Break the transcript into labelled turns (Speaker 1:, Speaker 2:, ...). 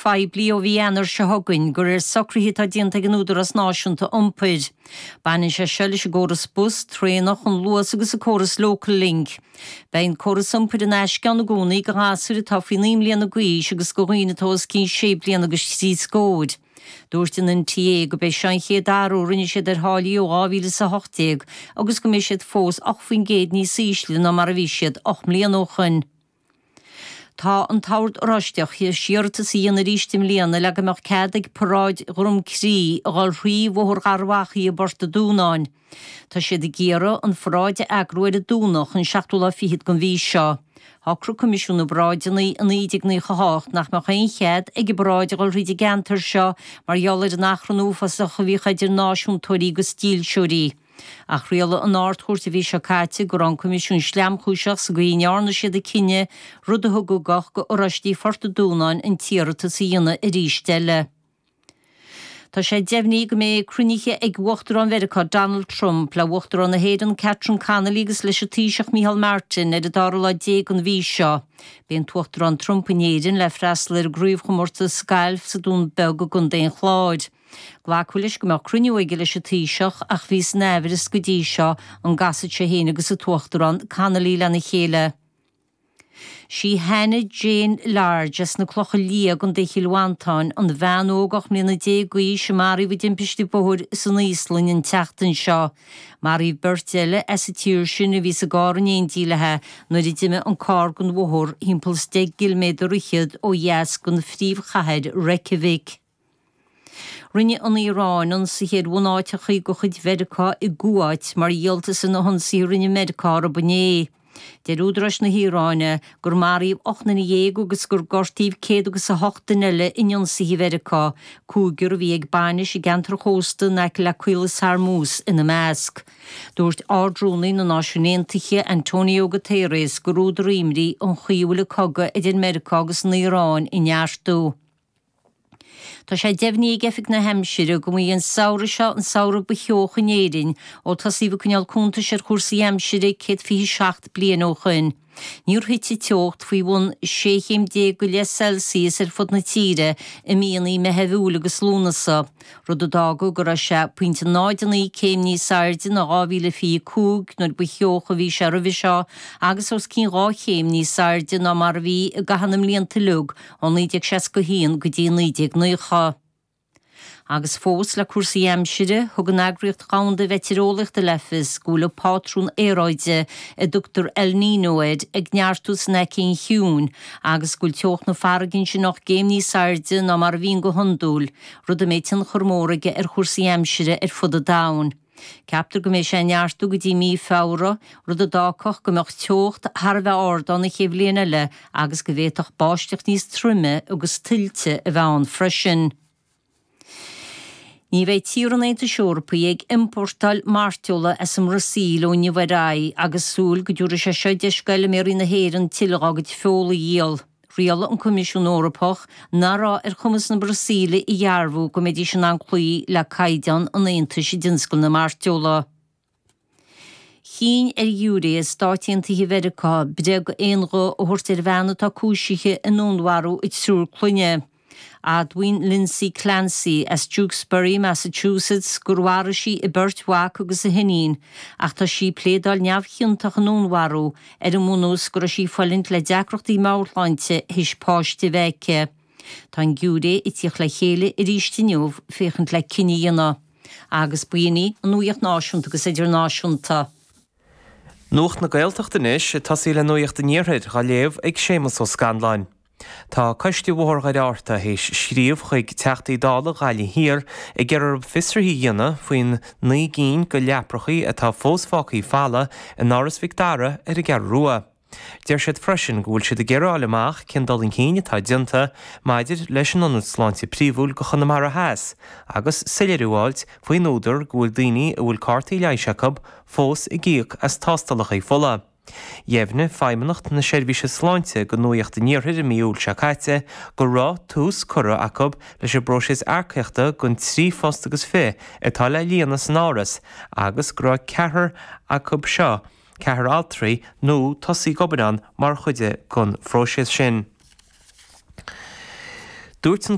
Speaker 1: Phoiblí ó mhí Eanáir seo chugainn, de réir socruithe atá déanta ag an Údarás Náisiúnta Iompair. Baineann sé seo leis an gcóras bus, traenach, an Luas agus an córas Local Link. Beidh an córas iompair in aisce ann i gcónaí do ghasúir atá faoi 9 mbliana d'aois agus do dhaoine atá os cionn sé bliana agus thrí scóir. Dúirt an NTA gurb é seo an chéad athrú a rinne siad ar tháillí ó 2018 agus go mbeidh siad fós 8% níos ísle ná mar a bhí siad 8 mbliana ó shoin. Tá an tOrd Oráisteach théis iarratas a dhéanamh arís i mbliana le go mbeadh cead ag paráid Dhrom Crí a dhul thrí Bhóthar Gharbhachaidh i bPort a' Dúnáin. Tá siad ag iarraidh an pharáid a eagrú ar an Domhnach, an seachtú lá fichead den mhí seo. Shocraigh Coimisiún na bParáideanna i 1998 nach mbeadh aon chead ag an bparáid a dhul thríd an gceantar seo mar gheall ar an achrann uafásach a bhíodh idir náisiúntóirí agus dílseoirí. Ach rialaigh an Ard-Chúirt an mhí seo caite go raibh an Coimisiún sleamchúiseach sa gcaoi a ndearna siad a cinneadh, rud a thug ugach go Oráistigh Phort an Dúnáin an t-iarratas a dhéanamh arís eile. Tá sé deimhnithe go mbeidh cruinnithe ag Uachtarán Mheiriceá Donald Trump le Uachtarán na hÉireann Catherine Connolly agus leis an Taoiseach Micheál Martin ar an dara lá déag den mhí seo. Beidh an tUachtarán Trump in Éirinn le freastal ar an gcraobhchomórtas gailf sa Dún Beag i gContae an Chláir. Glacadh leis go mbeadh cruinniú aige leis an Taoiseach ach bhí san aimhreas go dtí seo an gcasfadh sé féin agus an tUachtarán Connolly lena chéile. Sí Hannah Jane Large as na Clocha Liath i gContae Chill Mhantáin an bhean óg 18 mbliana d'aois a maraíodh i dtimpiste bóthair san Íoslainn an tseachtain seo. Maraíodh beirt eile as an tír sin a bhí sa gcarr in éindí léi nuair a d'imigh an carr den bhóthar thimpeall is deich gciliméadar fhichead ó dheas den phríomhchathair Reykjavik. Rinne an Iaráin ionsaithe ar bhunáiteacha de chuid Mheiriceá i gCuáit mar dhíoltas ar na hionsaithe a rinne Meiriceá orthu inné. Deir údaráis na hIaráine gur maraíodh 18 nduine agus gur gortaíodh 108 duine eile in ionsaithe Mheiriceá, cúigear a bhí ag bainis i gceantar chósta in aice le Caolas Hormuz ina measc. Dúirt Ard-Rúnaí na Náisiún Aontaithe, Antonio Guterres, gur údar imní an chaoi a bhfuil an cogadh idir Meiriceá agus an Iaráin ag neartú. Tá sé deimhnithe ag Oifig na hAimsire go mba é an samhradh seo an samhradh ba theocha in Éirinn ó tosaíodh ag coinneáil cuntais ar chúrsaí aimsire 127 bliain ó shoin. Níor thit an teocht faoi bhun 16 chéim go leith Celsius ar fud na tíre i míonna Meitheamh, Iúil agus Lúnasa, rud a d'fhága go raibh sé 0.09 céim níos airde ná 2025 nuair ba theocha a bhí sé roimhe seo agus os cionn 2 chéim níos airde ná mar a bhí i gcaitheamh na mblianta uilig ó 1961 go dtí 1990. Agus fós le cúrsaí aimsire, thug an Eagraíocht Dhomhanda Mheitéareolaíochta le fios go bhfuil an pátrún aeráide a dtugtar El Niño air ag neartú san Aigéan Ciúin agus go bhfuil teocht na farraige ansin 8 gcéim níos airde ná mar a bhíonn go hiondúil, rud a mbeidh tionchar mór aige ar chúrsaí aimsire ar fud an domhain. Ceaptar go mbeidh sé ag neartú go dtí mí Feabhra, rud a d'fhágfadh go mbeadh teocht thar a bheith ard ann an chéad bhliain eile agus go bhféadfadh báisteach níos troime agus tuilte a bheith ann freisin. Ní bheidh tíortha an Aontais Eorpaigh ag iompórtáil mairteola as an mBrasaíl ó inniu ar aghaidh agus súil go dtabharfaidh sé seo deis d'fheilméaraí na hÉireann tuilleadh dá gcuid feola a dhíol. Rialaigh an Coimisiún Eorpach nach raibh ar chumas na Brasaíle a dhearbhú go mbeidís in ann cloí le caighdeáin an Aontais i dtionscal na mairteola. Chinn ar ghiúiré i Stáit Aontaithe Mheiriceá breith d'aon ghuth a thabhairt ar bhean atá cúisithe i ndúnmharú a triúr clainne. Admhaíonn Lindsay Clancy, as Tewksbury, Massachusetts, gur mharaigh sí a beirt mhac agus a hiníon, ach tá sí ag pléadáil neamhchiontach i ndúnmharú, ar an mbunús go raibh sí ag fulaingt le deacrachtaí meabhairshláinte théis páiste a bheith aici. Tá an giúiré ag tíocht le chéile arís inniu féachaint le cinneadh a dhéanamh. Agus b'in í an nuaíocht náisiúnta agus idirnáisiúnta.
Speaker 2: Nuacht na Gaeltachta anois, ag tosaí le Nuacht an Iarthair, á léamh ag Séamus Ó Scanláin. Tá Coiste Bhóthar Dhoire Fhatharta théis scríobh chuig Teachtaí Dála Ghaillimh Thiar ag iarraidh orthu fiosruithe a dhéanamh faoin 9 gcinn de leaprachaí atá fós fágthaí folamh in Áras Mhic Dara ar an gCeathrú Rua. Deir siad freisin go bhfuil siad ag iarraidh a fháil amach cén dul chun cinn atá déanta maidir leis an Ionad Sláinte Príomhúil do Chonamara Theas agus soiléiriú a fháilt faoin údar go bhfuil daoine a bhfuil cártaí leighis acu fós ag íoc as tástálacha fola. Dheimhnigh Feidhmeannacht na Seirbhíse Sláinte do Nuacht an Iarthair i mí Iúil seo caite go raibh tús curtha acu leis an bpróiseas earcaíochta don 3 phost agus fiche atá le líonadh san Áras agus go raibh ceathrar acu seo, ceathrar altraí, nua tosaithe ag obair ann mar chuid den phróiseas sin. Dúirt an.